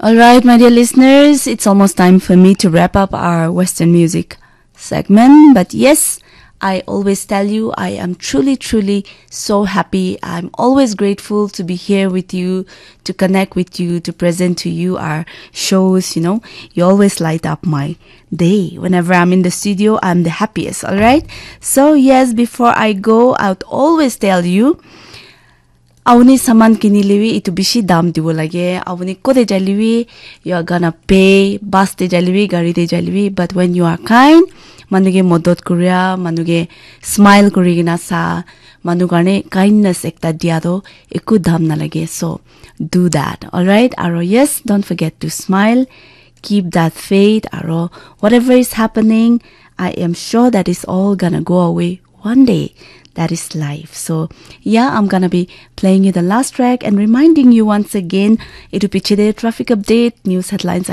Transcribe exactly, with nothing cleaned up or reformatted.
All right, my dear listeners, it's almost time for me to wrap up our Western music segment. But yes, I always tell you, I am truly, truly so happy. I'm always grateful to be here with you, to connect with you, to present to you our shows. You know, you always light up my day. Whenever I'm in the studio, I'm the happiest, all right? So, yes, before I go, I would always tell you, Auni saman kinile bi itu bishi dam dibo lage. Auni kote jaile bi, you are gonna pay. Bus te jaile bi, gari te jaile bi. But when you are kind, manu ke modot kuria, manu ke smile kuri kena sa, manu karne kindness ekta dia to eku dam nalage. So do that, all right? Aro yes, don't forget to smile. Keep that faith. Aro whatever is happening, I am sure that is all gonna go away one day. That is life. So, yeah, I'm gonna be playing you the last track and reminding you once again, itu piche de traffic update, news headlines